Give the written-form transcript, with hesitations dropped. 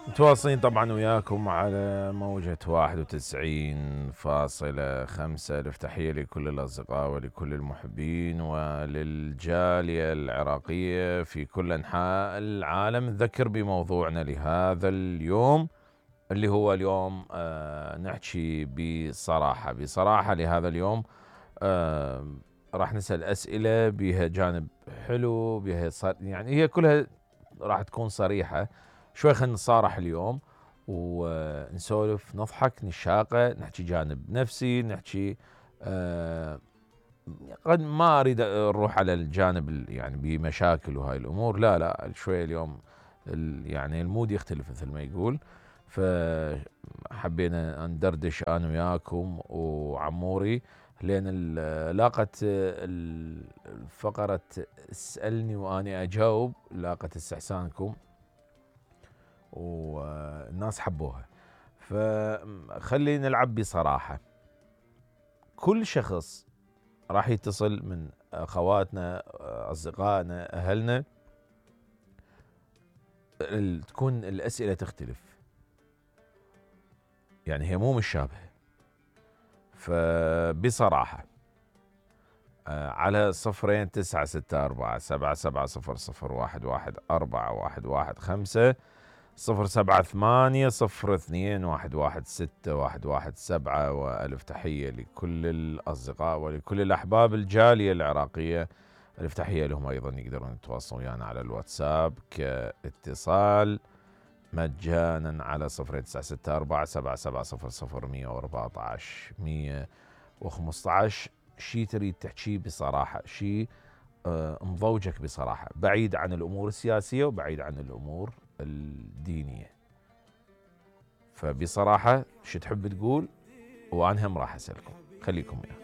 متواصلين طبعا وياكم على موجة 91.5. ألف تحية لكل الأصدقاء ولكل المحبين وللجالية العراقية في كل أنحاء العالم. نذكر بموضوعنا لهذا اليوم اللي هو اليوم نحكي بصراحة لهذا اليوم. راح نسأل أسئلة بها جانب حلو، بها يعني هي كلها راح تكون صريحة. شوي خلينا نصارح اليوم ونسولف، نضحك، نشاقة، نحكي جانب نفسي، نحكي قد ما أريد نروح على الجانب يعني بمشاكل وهاي الأمور، لا شوي اليوم يعني المود يختلف مثل ما يقول. فحبينا ندردش أنا وياكم وعموري، لأن لاقت الفقرة اسألني وأنا أجاوب لاقت استحسانكم والناس حبوها. فخلي نلعب بصراحة. كل شخص راح يتصل من أخواتنا، أصدقائنا، أهلنا، تكون الأسئلة تختلف، يعني هي مو مشابهة. فبصراحة على 096477001115 078022117. وألف تحية لكل الأصدقاء ولكل الأحباب الجالية العراقية، ألف تحية لهم أيضا. يقدرون يتواصلون ويانا على الواتساب كاتصال مجانا على 0964770014 شي تريد تحكي بصراحة، شي مضوجك بصراحة، بعيد عن الأمور السياسية وبعيد عن الأمور الدينية. فبصراحة شو تحب تقول وأنا هم راح أسألكم، خليكم وياي.